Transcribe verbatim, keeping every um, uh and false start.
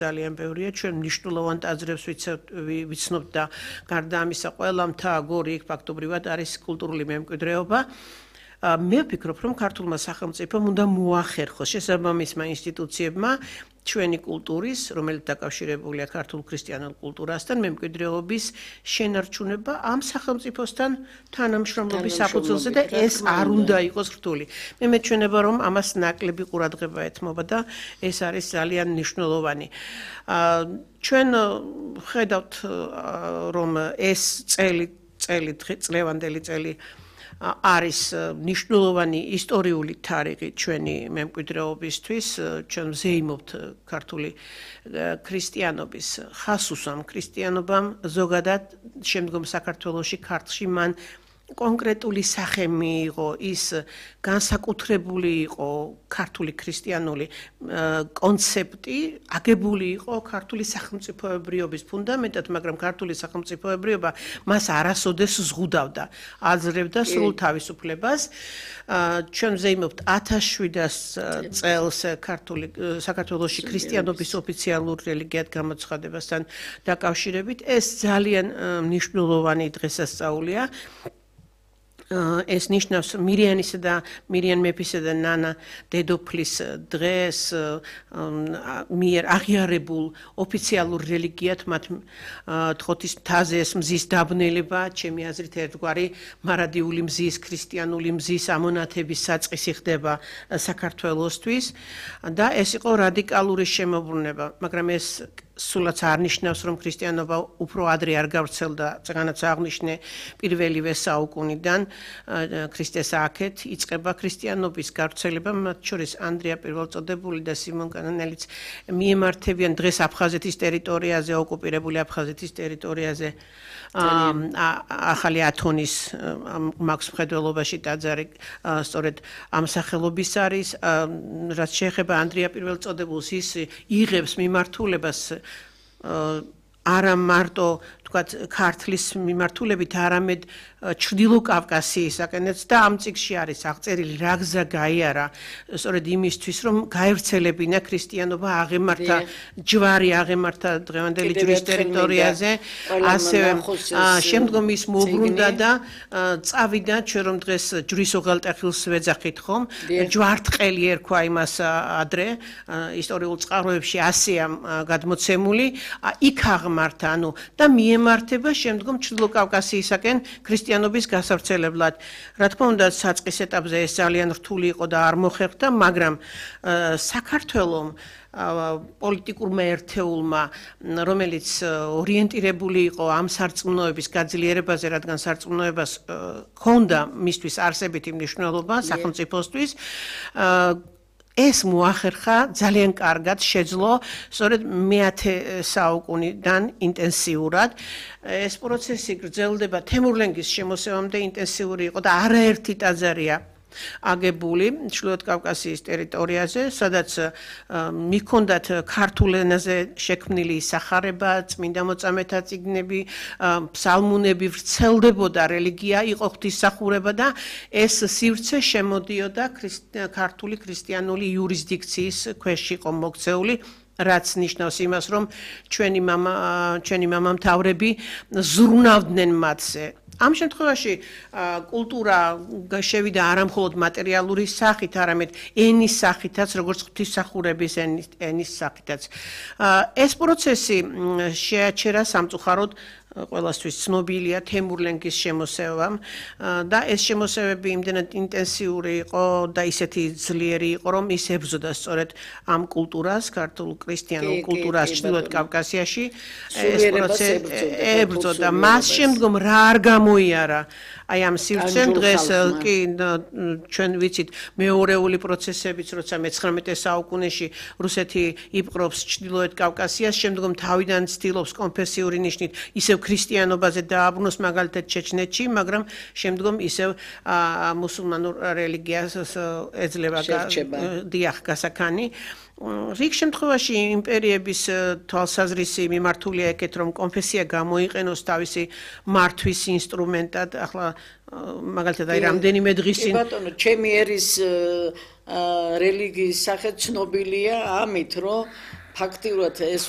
ძალიან ბევრია, ჩვენ მნიშვნელოვან ტაძრებს ვიცნობთ და გარდა ამისა ყველა მთა გორი იქ ფაქტობრივად არის კულტურული მემკვიდრეობა. მე ვფიქრობ, რომ ქართულმა სახელმწიფომ უნდა მოახერხოს შესაბამისმა ინსტიტუციებმა ჩვენი კულტურის, რომელიც დაკავშირებულია ქართულ ქრისტიანულ კულტურასთან, მემკვიდრეობის შენარჩუნება ამ სახელმწიფოსთან თანამშრომლობის საფუძველზე და ეს არ უნდა იყოს რთული. მე მეჩვენება, რომ ამას ნაკლები ყურადღება ეთმობა და ეს არის ძალიან მნიშვნელოვანი. ჩვენ ხედავთ, რომ ეს წელი, წელი, წლევანდელი წელი არის მნიშვნელოვანი ისტორიული თარიღი ჩვენი მემკვიდრეობისთვის, ჩვენ ვზეიმობთ ქართული ქრისტიანობის ხასუსამ, ქრისტიანობამ ზოგადად შემდგომ საქართველოში ქართლში მან კონკრეტული სახე მიიღო, ის განსაკუთრებული იყო ქართული ქრისტიანული კონცეპტი, აგებული იყო ქართული სახელმწიფოებრიობის ფუნდამენტად, მაგრამ ქართული სახელმწიფოებრიობა მას არასოდეს ზღუდავდა, აძლევდა სრულ თავისუფლებას. ჩვენ ვზეიმობთ ათას შვიდას წელს ქართული საქართველოში ქრისტიანობის ოფიციალურ რელიგიად გამოცხადებასთან დაკავშირებით. ეს ძალიან მნიშვნელოვანი დღესასწაულია. ეს ნიშნავს მირიანისა და მირიან მეფისა და ნანა დედოფლის დღეს მიერ აღიარებულ ოფიციალურ რელიგიად მათ თხოთის მთაზე ეს მზის დაბნელება, ჩემი აზრით ერთგვარი მარადიული მზის, ქრისტიანული მზის ამონათების საწყისი ხდება საქართველოსთვის და ეს იყო რადიკალური შემოbrunება, მაგრამ ეს სულაც არ ნიშნავს, რომ ქრისტიანობა უფრო ადრე არ გავრცელდა, წეგანაც აღნიშნე პირველივე საუკუნიდან ქრისტეს აქეთ იწყება ქრისტიანობის გავრცელება, მათ შორის ანდრია პირველწოდებული და სიმონ კანონელიც მიემართებიან დღეს აფხაზეთის ტერიტორიაზე, ოკუპირებული აფხაზეთის ტერიტორიაზე ახალი ათონის მაქვს მხედველობაში ტაძარი სწორედ ამ სახელობის არის, რაც შეეხება ანდრია პირველწოდებულს, ის იღებს მიმართულებას არა მარტო თქვათ ქართლის მიმართულებით, არამედ ჩრდილო კავკასიისაკენაც და ამ წიგნში არის აღწერილი რა გზა გაიარა სწორედ იმისთვის, რომ გაევრცელებინა ქრისტიანობა, აღემართა ჯვარი, აღემართა დღევანდელი ჯვრის ტერიტორიაზე, ასევე შემდგომ ის მოbrunდა და წავიდა, ჩვენ რომ დღეს ჯვრის ოღალტეხილს ვეძახით ხომ, ჯვარტყელი ერქვა იმას ადრე, ისტორიულ წყაროებში ასეა გადმოცემული, იქ აღმართა, ანუ და მიემართება შემდგომ ჩრდილო კავკასიისაკენ ქრისტიანობის გასავრცელებლად. რა თქმა უნდა, საწყის ეტაპზე ეს ძალიან რთული იყო და არ მოხერხდა, მაგრამ საქართველომ პოლიტიკურმა ერთეულმა, რომელიც ორიენტირებული იყო ამ სარწმუნოების გაძლიერებაზე, რადგან სარწმუნოებას ჰქონდა მისთვის არსებითი მნიშვნელობა სახელმწიფოსთვის, ეს მოახერხა ძალიან კარგად შეძლო სწორედ მეათე საუკუნიდან ინტენსიურად. ეს პროცესი გრძელდება თემურლენგის შემოსევამდე ინტენსიური იყო და არაერთი ტაძარია აგებული ჩრდილოეთ კავკასიის ტერიტორიაზე, სადაც მიჰქონდათ ქართულ ენაზე შექმნილი ისახარება, წმინდა მოწამეთა წიგნები, ფსალმუნები, ვრცელდებოდა რელიგია, იყო ღვთისმსახურება და ეს სივრცე შემოდიოდა ქართული ქრისტიანული იურისდიქციის ქვეშ იყო მოქცეული, რაც ნიშნავს იმას, რომ ჩვენი მამა ჩვენი მამამთავრები ზრუნავდნენ მათზე. ამ შემთხვევაში კულტურა შევიდა არა მხოლოდ მატერიალური სახით, არამედ ენის სახითაც, როგორც ღვთისმსახურების ენის სახითაც. ეს პროცესი შეაჩერა სამწუხაროდ ყველასთვის ცნობილია თემურლენგის შემოსევამ და ეს შემოსევები იმდენად ინტენსიური იყო და ისეთი ძლიერი იყო, რომ ის ებრძოდა სწორედ ამ კულტურას, ქართულ ქრისტიანულ კულტურას ჩრდილოეთ კავკასიაში. ეს პროცესი ებრძოდა. მას შემდგომ რა არ გამოიარა აი ამ სივრცემ დღეს კი ჩვენ ვიცით მეორეული პროცესებიც, როცა მეცხრამეტე საუკუნეში რუსეთი იპყრობს ჩრდილოეთ კავკასიას, შემდგომ თავიდან ცდილობს კონფესიური ნიშნით ისევ ქრისტიანობაზე დააბრუნოს, მაგალითად ჩეჩნეთში, მაგრამ შემდგომ ისევ მუსულმანურ რელიგიას ეძლევა დიახ გასაქანი. რიგ შემთხვევაში იმპერიების თვალსაზრისი მიმართულია ეკეთ, რომ კონფესია გამოიყენოს თავისი მართვის ინსტრუმენტად. ახლა მაგალითად აი რამდენიმე დღის წინ ბატონო, ჩემი ერის რელიგიის სახე ცნობილია ამით, რომ ფაქტიურად ეს